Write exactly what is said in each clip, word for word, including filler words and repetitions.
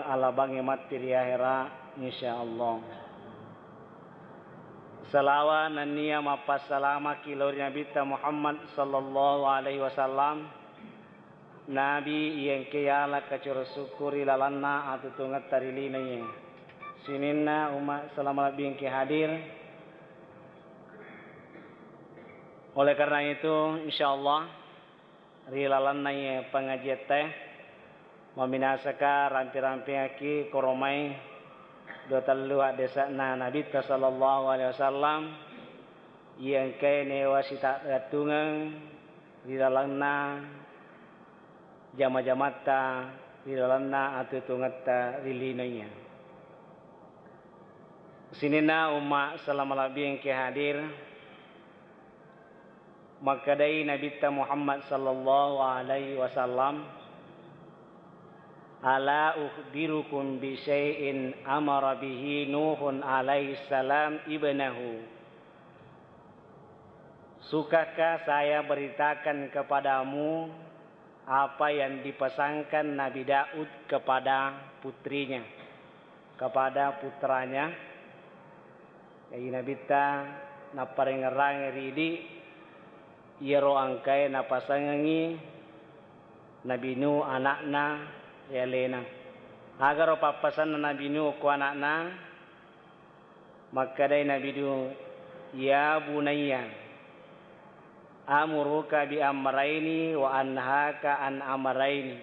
alabangnge matti ri ahera, insyaallah. Salawa nennia mappassalamaki lao ri Nabitta Muhammad sallallahu alaihi wasallam, Nabi iya engkae yala kacoro sukku ri lalenna atutungetta ri linoe. Sininna umma selama lebbi engkae hadir. Oleh karena itu, insyaallah, ri lalenna iye pengajiatta, maminasaka rampi-rampingaki koromai dua tellu haddese'na Nabitta sallallahu alaihi wasallam, iya engkae newa sitagatungeng ri lalenna jama-jamatta, ri lalenna atutungetta ri linoe. Sininna umma selama lebbi engkae hadir, makkedai Nabitta Muhammad sallallahu alaihi wasallam, "Ala ukhbirukum bi syai'in amara bihi Nuhun alaihi salam ibnahu?" Sukakah saya beritakan kepadamu apa yang dipesankan Nabi Daud kepada putrinya, kepada putranya? Jadi Nabitta napparengngerangngi ri idi iyaro engkae napasangengngi Nabi Nuh ana'na ri alena. Agaro pappasanna Nabi Nuh ko ana'na? Makkedai Nabi Nuh, "Ya bunayya, amuruka bi amraini wa anhaka an amraini."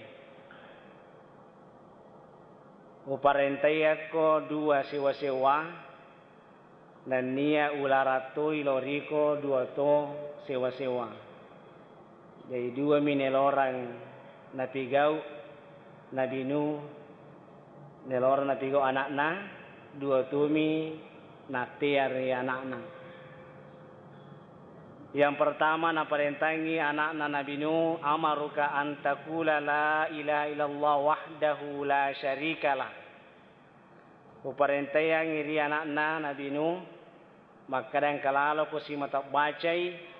Uparentaiakko dua sewa-sewa, nennia ularang toi lao riko dua to sewa-sewa. Jadi, duami nelorang napigau Nabi Nuh, nelorang napigau ana'na, dua tumi nattea ri ana'na. Yang pertama, naparentangi ana'na Nabi Nuh, "Amaruka an taqula la ilaha illallah wahdahu la syarikalah." Uparentaiangngi ri ana'na Nabi Nuh, makkeda engka laloko simata bacai,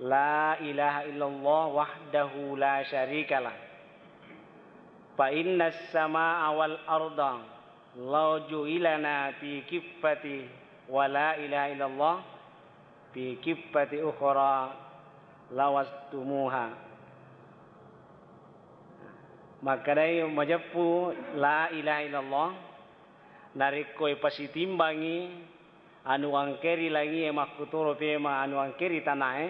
"La ilaha illallah wahdahu la syarikalah. Fa innas samaa wal arda law ju'ilana fi kiffati wa la ilaha illallah fi kiffati ukhra lawastumuha." Makkedai majeppu la ilaha illallah, narekko ipasitimbangi anu engkae ri langie makkutoro pemeng anu engkae ri tanae,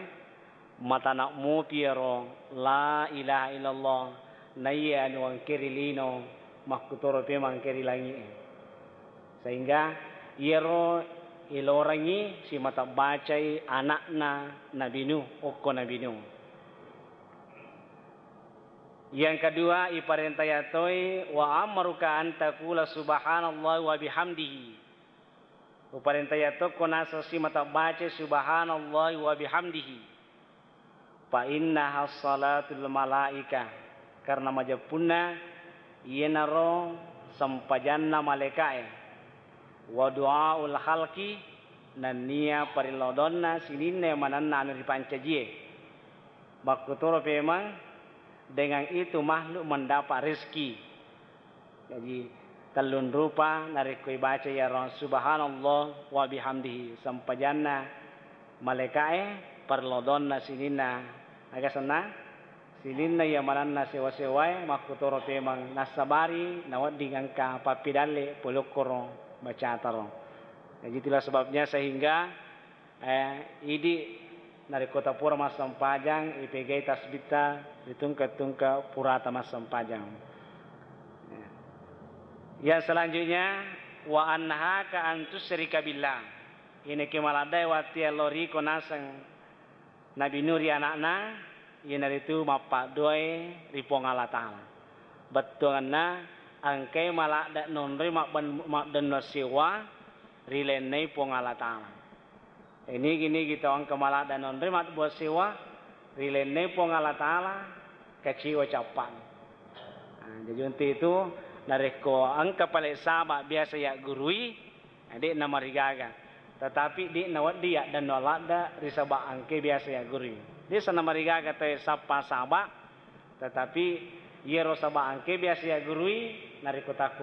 matana mopi ero la ilaha illallah, naiya anu engkae ri lino makkutoro pemeng engkae ri langie. Sehingga iyaro ilorangngi simata bacai ana'na Nabi Nuh, okko Nabi Nuh. Yang kedua, iparentaya toi, "Wa amaruka an taqula subhanallahi wa bihamdihi." Uparentaya tokko naseng simata baca subhanallahi wa bihamdihi. Fa innaha salatul malaika, karena majeppunna iyanaro sempajanna malaikae. Wa du'aul khalqi, nennia parellodonna sininna manenna anu ripancajie. Makkutoro pemeng, dengan itu makhluk mendapat rezeki. Jadi, tellung rupa narekko ibaca iyaro subhanallah wa bihamdihi, sempajanna malaikae, parellodonna sininna, aga senna? Sininna iya manenna sewa-sewae, makkutoro pemeng nassabari nawedding engka pappidalle pole okkoro bacataro. Jadi, itulah sebabnya sehingga Eh, idi narekko tapura massempajang, ipegai tasbitta ri tungke-tungke purata massempajang. Ya. Yang selanjutnya, wa annahaka an tusyrika billah. Inekke maladdae watti allo riko naseng Nabi Nuh ri ana'na, iyanaritu mappaddoe ri Puang Allah Ta'ala. Bettuanna engkai maladde nonroi mabben-, maddenno sewwa ri lennei Puang Allah Ta'ala. Nigi-nigi tau engka maladde nonroi mabbua sewwa ri lennei Puang Allah Ta'ala, kaciwa cappa'na. Nah, jadi untuk itu, narekko engka pale saba biasa yaggurui, de'na marigaga. Tetapi de'na wedding yaddenno ladde ri saba engke biasa yaggurui. De'sa namarigaga tau sappa saba, tetapi iyaro saba engke biasa yaggurui, narekko takko